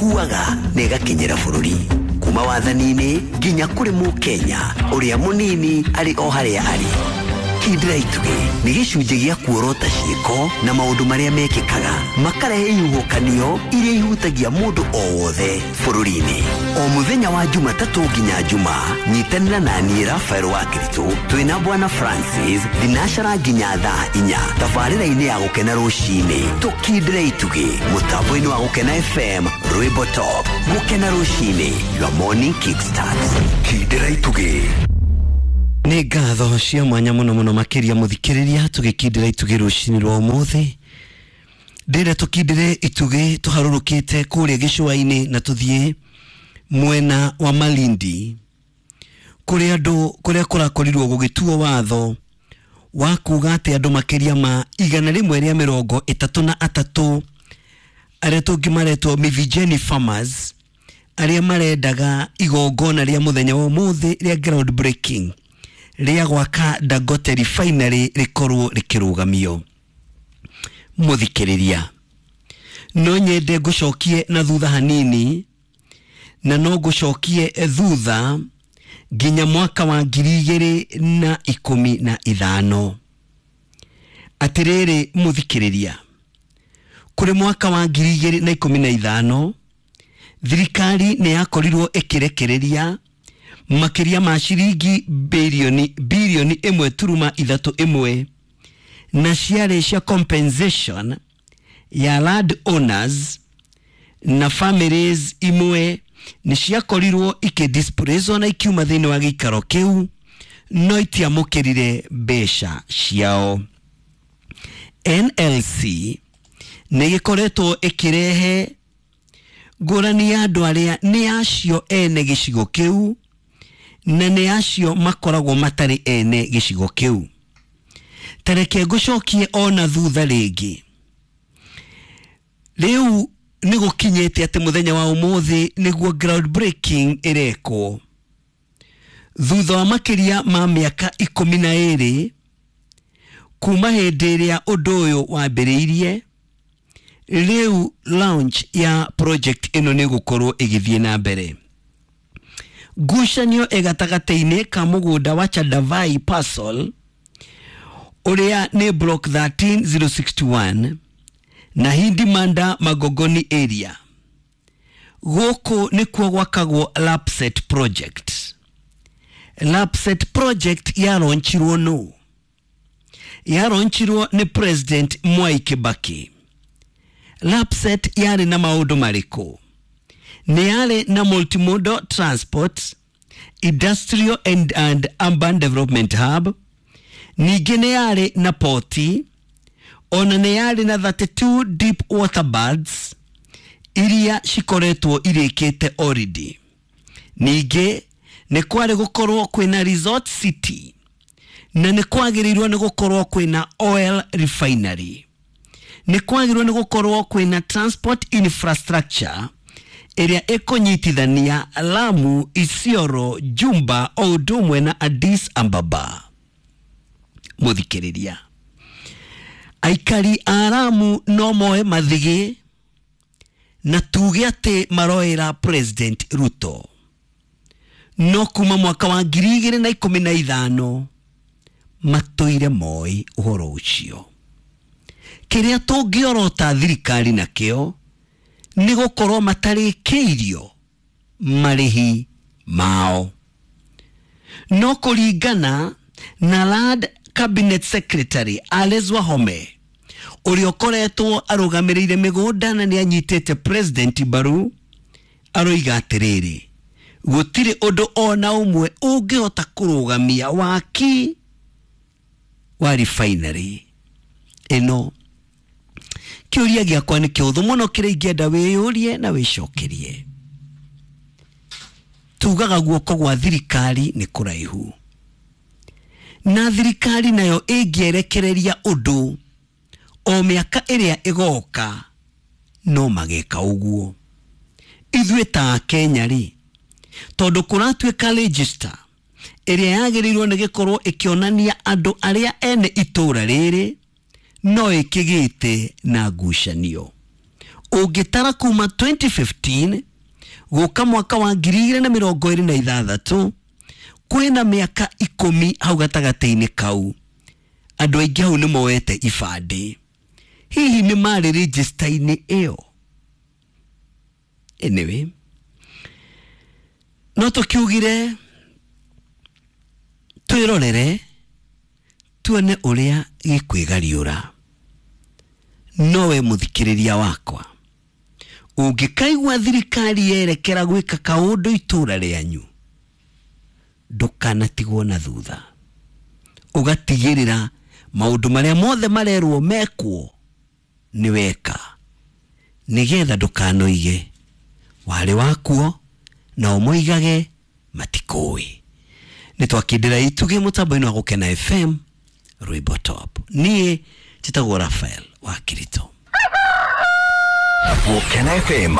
Ĩkuaga na ĩgakinyĩra bũrũri kuma wathani-inĩ nginya kũrĩ mũkenya ũrĩa mũnini arĩ o harĩa arĩ. Kindĩra itugĩ nĩ gĩcunjĩ gĩa kuorota ciĩko na maũndũ marĩa mekĩkaga makarehe ihuhũkanio iria ihutagia mũndũ o wothe bũrũri-inĩ. O mũthenya wa Jumatatũ nginya Juma, nyitanĩra na niĩ Rafael wa Kiritũ twĩna Bwana Francis thinacara nginya thaa 4 tabarĩra-inĩ ya Gũkena rũcinĩ. Tũkindĩre itugĩ mũtambo-inĩ wa Gũkena FM, Rwĩmbo Top. Gũkena rũcinĩ, your morning kickstart. Kindĩra itugĩ. Nĩ ngatho cia mwanya mũno mũno makĩria mũthikĩrĩria, tũgĩkindĩra itugĩ rũcinĩ rwa ũmũthĩ. Ndĩrenda tũkindĩre itugĩ tũharũrũkĩte kũrĩa gĩcũa-inĩ na tũthiĩ mwena wa Malindi, kũrĩa andũ kũrĩa kũrakorirwo gũgĩtuo watho wa kuga atĩ andũ makĩria ma 133 arĩa tũngĩmaretwo Mivijeni Farmers, arĩa marendaga igongona rĩa mũthenya wa ũmũthĩ rĩa ground breaking rĩa gwaka Dangote Refinery rĩkorwo rĩkĩrũgamio. Mũthikĩrĩria, no nyende ngũcokie na thutha hanini, na no ngũcokie thutha nginya mwaka wa 2015. Atĩrĩrĩ mũthikĩrĩria, kũrĩ mwaka wa 2015 thirikari nĩ yakorirwo ĩkĩrekereria makĩria ma ciringi bilioni 1.31, na ciarĩ cia compensation ya land owners na families imwe nĩ ciakorirwo ikĩdisplacewo na ikiuma thĩinĩ wa gĩikaro kĩu, no itiamũkĩrire mbeca ciao. NLC nĩ gĩkoretwo ĩkĩrehe ngũrani ya andũ arĩa nĩ acio ene gĩcigo kĩu na nĩ acio makoragwo matarĩ ene gĩcigo kĩu. Tareke ngũcokie ona thutha rĩngĩ. Rĩu nĩ gũkinyĩte atĩ mũthenya wa ũmũthĩ nĩguo ground breaking ĩrekwo thutha wa makĩria ma mĩaka 12 kuma hĩndĩ ĩrĩa ũndũ ũyũ wambĩrĩirie. Rĩu launch ya project ĩno nĩ gũkorwo ĩgĩthiĩ na mbere. Ngucanio ĩgatagatĩ-inĩ ka mũgũnda wa Chadavai Parcel ũrĩa nĩ block 13061 na Hindi Manda Magogoni area. Gũkũ nĩkuo gwakagwo Lapset project. Lapset project yaronchirwo nũ? Yaronchirwo nĩ President Mwai Kibaki. Lapset yarĩ na maũndũ marĩkũ? Nĩ yarĩ na multimodal transport, industrial and urban development hub, ningĩ nĩ yarĩ na poti, ona nĩ yarĩ na 32 deep water birds iria cikoretwo irĩkĩte already. Ningĩ nĩ kwarĩ gũkorwo kwĩna resort city, na nĩ kwagĩrĩirwo nĩ gũkorwo kwĩna oil refinery, nĩ kwagĩrĩirwo nĩ gũkorwo kwĩna transport infrastructure ĩrĩa ĩkũnyitithania Lamu, Isiolo, Jumba o ũndũ ũmwe na Addis Ababa. Mũthikĩrĩria, aikari a Lamu no moe mathigĩ na tuge atĩ maroera President Ruto, no kuma mwaka wa 2015 matũire moi ũhoro ũcio. Kĩrĩa tũngĩorota thirikari nakĩo nĩ gũkorwo matarĩkĩirio marĩhi mao. No kũringana na Land Cabinet Secretary Alice Wahome, ũrĩa ũkoretwo arũgamĩrĩire mĩgũnda na nĩ anyitĩte President mbaru, aroiga atĩrĩrĩ, gũtirĩ ũndũ ona ũmwe ũngĩhota kũrũgamia waki wa refinery ĩno. Kĩũria gĩakwa nĩ kĩhũthũ mũno kĩrĩa ingĩenda wĩyũrie na wĩcokerie. Tugaga guoko gwa thirikari nĩ kũraihu, na thirikari nayo ĩngĩerekereria ũndũ o mĩaka ĩrĩa ĩgoka no mageka ũguo. Ithuĩ ta Kenya rĩ, tondũ kũratuĩka register ĩrĩa yagĩrĩirwo nĩ gĩkorwo ĩkĩonania andũ arĩa ene itũra rĩrĩ no ĩkĩgĩte na ngucanio. Ũngĩtara kuma 2015 gũka mwaka wa 2026, kwĩna mĩaka 10 hau gatagatĩ-inĩ kau. Andũ aingĩ hau nĩ moete ibandĩ. Hihi nĩ marĩ register-inĩ ĩyo? Anyway, no tũkiugire twĩrorere tuone ũrĩa gĩkwĩgariũra. Nowe mũthikĩrĩria wakwa, ũngĩkaigua thirikari yerekera gwĩka kaũndũ itũra rĩanyu, ndũkanatigwo na thutha. Ũgatigĩrĩra maũndũ marĩa mothe marerwo mekwo nĩ weka, nĩgetha ndũkanoige warĩ wakuo nao moigage matikũĩ. Nĩ twakindĩra itugĩ mũtambo-inĩ wa Gũkena FM Rwĩmbo Top. Niĩ njĩtagwo Raphael wa Kirito. Gũkena FM.